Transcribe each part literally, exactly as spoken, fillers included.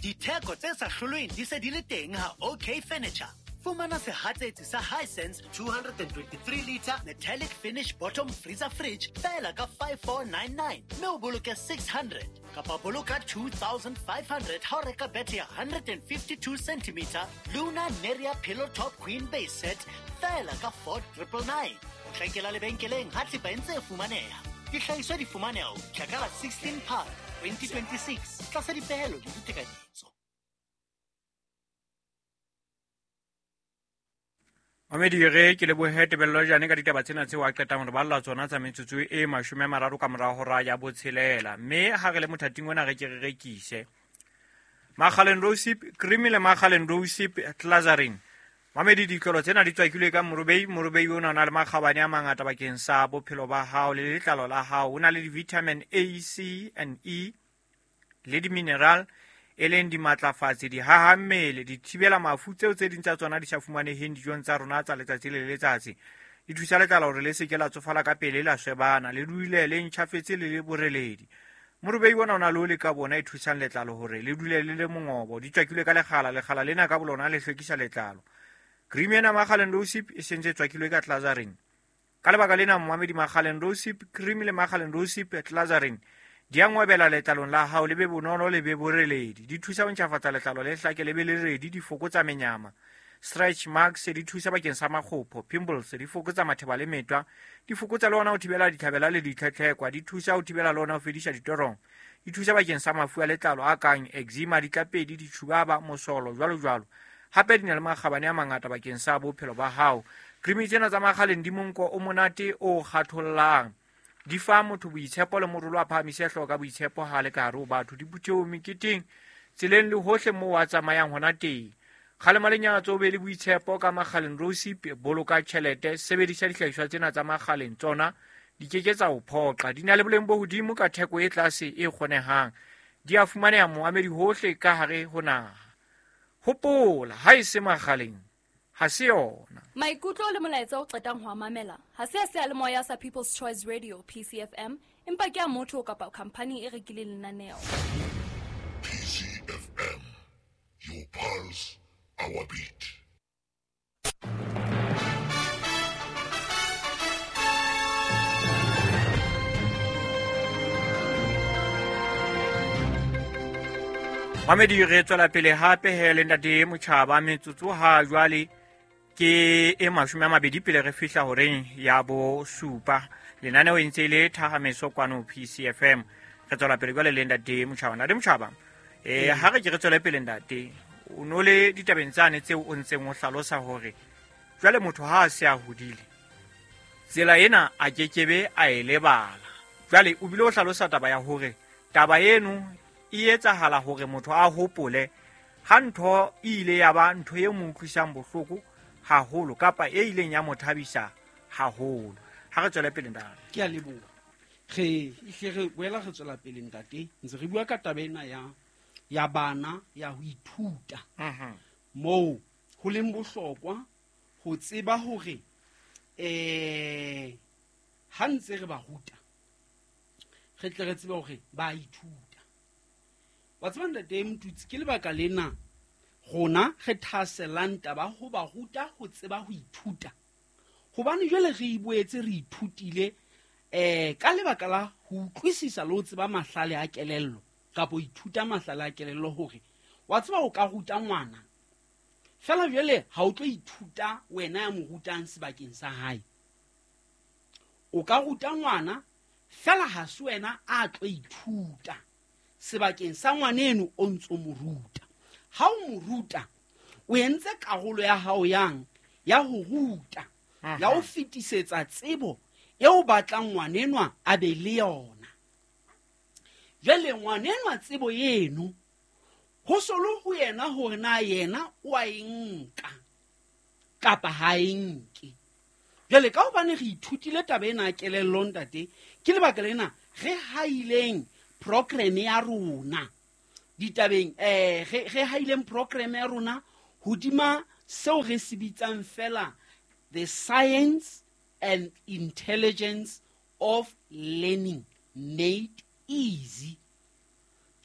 Ditheko tse sa hlolweng di se di le teng ha OK Furniture. Fumana sehatsetsi sa Hisense two twenty-three liter metallic finish bottom freezer fridge feela ka five four nine nine mme o boloke six hundred kapa boloka two thousand five hundred ha o reka bethe ya one fifty-two centimeter Luna Neria Pillow Top Queen Base Set feela ka four triple nine. O tlakela lebenkeleng ha thepa e ntse e fumaneha. Dihlahiswa di fumaneha ho fihla ka la sixteen Phato twenty twenty-six tlasa dipehelo le ditekanyetso. Mamedi re ke lebohe Tebello Jane ka ditaba tsena tseo a qetang re balla tsona tsa metsotso e mashome a mararo ka morao hora ya botshelela. Mme ha re le mothating ona re ke re rekise Makgaleng Rosip cream le Makgaleng Rosip Glazarin. Mamedi ditlolo tsena di tswakilwe ka morobei. Morobei ona o na le makgabane a mangata bakeng sa bophelo ba hao le letlalo la hao. O na le di-vitamin A, C and E le di-mineral e leng dimatlafatsi, dihaha mmele, di thibela mafu tseo tse ding tsa tsona di sa fumaneheng dijong tsa rona tsa letsatsi le letsatsi. Di thusa letlalo hore le se ke la tsofala ka pele, la shebana, le dule le ntjhafetse le le boreledi. Morobei ona o na le oli ka bona e thusang letlalo hore le dule le le mongobo. Di tswakilwe ka lekgala, lekgala lena ka bolona le hlwekisa letlalo. Cream ena Makgaleng Rosip e sentse tswakilwe ka Glazarin. Ka lebaka lena momamedi, Makgaleng Rosip cream le Makgaleng Rosip Glazarin di a ngwebela letlalong la hao, le be bonolo le be boreledi. Di thusa ho ntjhafatsa letlalo le hlake le be le redi, di fokotsa menyama. Stretch marks di thusa bakeng sa makgopho, pimples di fokotsa matheba le metwa, di fokotsa le ona ho thibela ditlhabela le ditlhetlhekwa, di thusa ho thibela le ona ho fedisa ditorong. Di thusa bakeng sa mafu a letlalo a kang eczema, ditlapedi, ditjhubaba, mosolo, jwalo jwalo. Hape di na le makgabane a mangata bakeng sa bophelo ba hao. Cream tsena tsa Makgaleng di monko o monate o kgathollang. Di fa motho boitshepo le morolo a phahamise hlooho ka boitshepo ha le ka hare ho batho, diphuthehong, meketeng, tseleng le hohle moo a tsamayang hona teng. Kgalema lenyatso, o be le boitshepo ka Makgaleng Rosip. Boloka tjhelete, sebedisa dihlahiswa tsena tsa Makgaleng, tsona di ke ke tsa o phoqa. Di na le boleng bo hodimo ka theko e tlase e kgonehang. Di a fumaneha moamedi hohle ka hare ho naha. Hopola, ha e se Makgaleng ha se yona. Maikutlo le molaetsa o qetang ho mamela ha se a seyalemoya sa People's Choice Radio P C F M, empa ke a motho kapa company e rekileng lenaneo. P C F M, your pulse, our beat. Mamedi re tswela pele hape he le ntate Motjhaba. Metsotso ha jwale ke e mashome a mabedi pele re fihla horeng ya bo supa. Lenaneo e ntse e le Thahameso kwano P C F M. Re tswela pele jwale le ntate Motjhaba. Ntate Motjhaba, eh ha re ke re tswele pele ntate, o no le ditabeng tsane tseo o ntseng o hlalosa hore jwale motho ha a se a hodile, tsela ena a kekebe a e lebala. Jwale o bile o hlalosa taba ya hore taba eno e etsahala hore motho a hopole ha ntho e ile ya ba ntho e mo utlwisang bohloko haholo kapa e ileng ya mo thabisa haholo. Ha re tswele pele ntate. Ke a leboha. Re hle re boela re tswela pele ntate, ntse re bua ka taba ena ya ya bana ya ho ithuta. Mhm. Moo ho leng bohlokwa ho tseba hore eh ha ntse re ba ruta, re tle re tsebe hore ba ithuta. Wa tseba ntate Mtutsi, ke lebaka lena rona re thahasellang taba ho ba ruta ho tseba ho ithuta. Hobane jwale re iboetse re ithutile eh ka lebaka la ho utlwisisa le ho tseba mahlale a kelello kapa ho ithuta mahlale a kelello, hore wa tseba o ka ruta ngwana fela jwale ha o tlo ithuta wena ya mo rutang sebakeng sa hae. O ka ruta ngwana fela ha se wena a tlo ithuta sebakeng sa ngwaneno o ntso mo ruta. Ha o mo ruta, o entse karolo ya hao yang ya ho ruta, ya ho fetisetsa tsebo eo batlang ngwanenwa a be le yona. Jwale ngwanenwa tsebo eno ho solo ho yena hore na yena o a e nka kapa ha e nke. Jwale ka hobane re ithutile taba ena ya kelello ntate, ke lebaka lena re haileng program ya rona ditabeng, eh re re haileng program ya rona hodima seo re se bitsang fela the science and intelligence of learning made easy.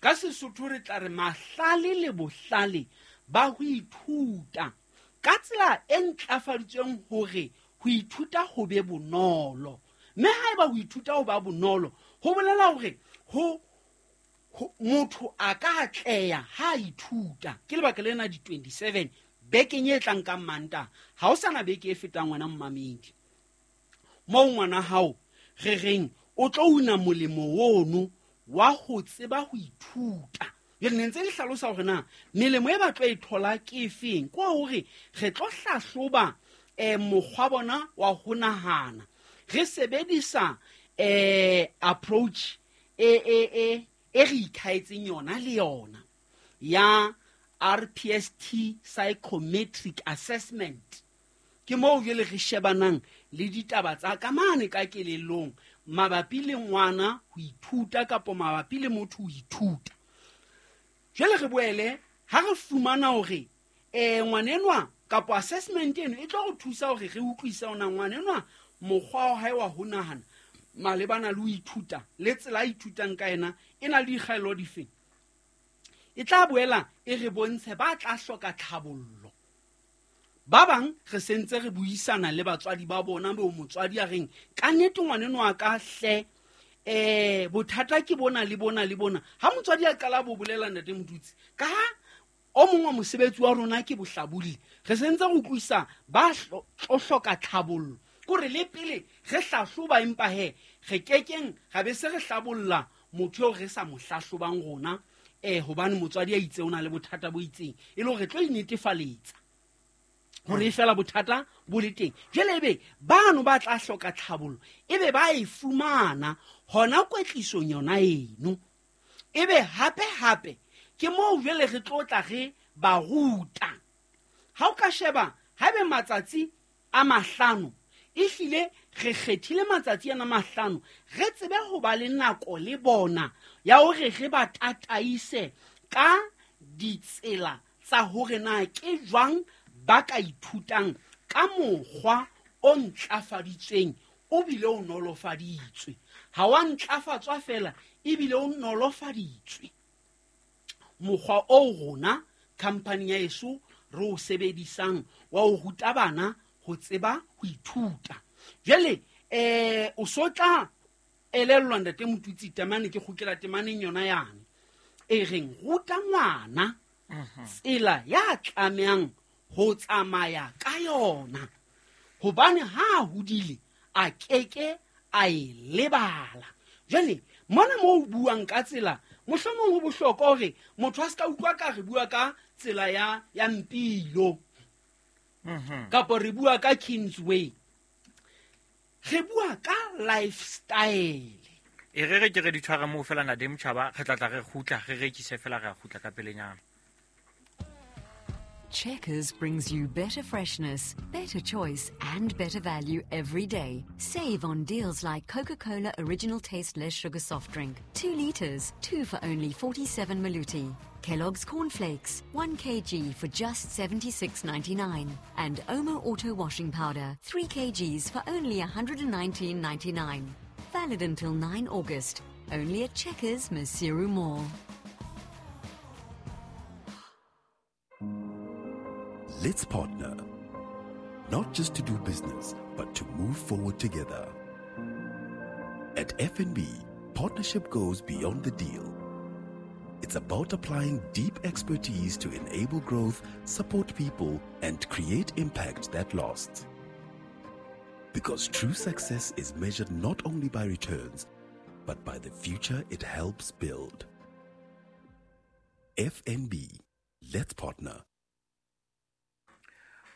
Ka Sesotho re tla re mahlale le bohlale ba ho ithuta ka tsela e ntlafaditsweng hore ho ithuta ho be bonolo. Mme haeba ho ithuta ho ba bonolo, ho bolela hore ho motho a ka atleha ha a ithuta. Ke lebaka lena di twenty-seven bekeng e tlang ka Mantaha, ha o sana beke e fetang wena mmamedi. Moo ngwana hao re reng o tlo una molemo ono wa ho tseba ho ithuta. Jwale ne ntse le hlalosa hore na melemo e ba tlo e thola ke efeng, ke hore re tlo hlahloba eh mokgwa bona wa ho nahana. Re sebedisa eh approach e e e e re ikhaetseng yona le yona ya R P S T psychometric assessment. Ke moo jwale re shebanang le ditaba tsa ka mane ka kelellong mabapi le ngwana ho ithuta kapa mabapi le motho ho ithuta. Jwale re boele ha re fumana hore eh ngwanenwa kapa assessment eno e tlo re thusa hore re utlwise ona ngwanenwa mokgwa wa hae wa ho nahana malebana le ho ithuta le tsela a ithutang ka yena e na le dikgaello dife. E tla boela e re bontshe ba tla hloka tlhabollo. Ba bang re sentse re buisana le batswadi ba bona bo motswadi a reng ka nnete ngwaneno ka hle eh bothata ke bona le bona le bona. Ha motswadi a qala bo bolela ntate Motutsi ka ha o mongwe wa mosebetsi wa rona ke bohlabodi, re sentse re utlwisa ba tlo hloka tlhabollo. Kore le pele re hlahloba empa he re kekeng ra be se re hlabolla motho eo re sa mo hlahlobang rona eh hobane motswadi a itse o na le bothata bo itseng, e le hore re tlo inetefaletsa hore fela bothata bo le teng. Jwale ebe bano ba tla hloka tlhabollo ebe ba e fumana hona kwetlisong yona eno. Ebe hape hape ke moo jwale re tlo tla re ba ruta. Ha o ka sheba haebe matsatsi a mahlano, ehlile re kgethile matsatsi ana mahlano re tsebe ho ba le nako le bona ya hore re ba tataise ka ditsela tsa hore na ke jwang ba ka ithutang ka mokgwa o ntlafaditsweng o bile o nolofaditswe. Ha wa ntlafatswa fela ebile o nolofaditswe. Mokgwa o rona company ya eso re o sebedisang wa ho ruta bana ho tseba ho ithuta. Jwale eh o so tla elellwa ntate Motutsi temane ke kgutlela temaneng yona yane e reng ruta ngwana tsela ya tlamehang ho tsamaya ka yona, hobane ha a hodile a keke a e lebala. Jwale mona mo o buang ka tsela, mohlomong ho bohlokwa hore motho a se ka utlwa ka re bua ka tsela ya ya Mpilo kapo re bua ka Kingsway, re bua ka lifestyle. E re re ke re di tshware moo fela ntate Motjhaba, re tla tla re kgutla re rekise fela re a kgutla ka pelenyana. Checkers brings you better freshness, better choice, and better value every day. Save on deals like Coca-Cola Original Taste Less Sugar Soft Drink, two litres, two for only forty-seven maluti. Kellogg's Cornflakes, one kilogram for just seventy-six ninety-nine. And Omo Auto Washing Powder, three kilograms for only one hundred nineteen ninety-nine. Valid until nine August. Only at Checkers, Maseru Mall. Let's partner, not just to do business, but to move forward together. At F N B, partnership goes beyond the deal. It's about applying deep expertise to enable growth, support people, and create impact that lasts. Because true success is measured not only by returns, but by the future it helps build. F N B, let's partner.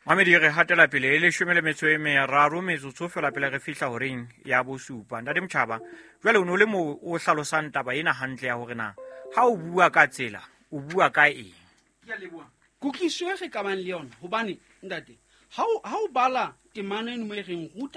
Mamedi re hatela pele e leshome le metso e meraro metsotso fela pele re fihla horeng ya bosupa. Ntate Motjhaba, jwale o no le mo o hlalosang taba ena hantle ya hore na ha o bua ka tsela o bua ka eng? Ke a leboha. Kutlwiso e re ka bang le yona hobane ntate ha o ha o bala temana eno mo e reng ruta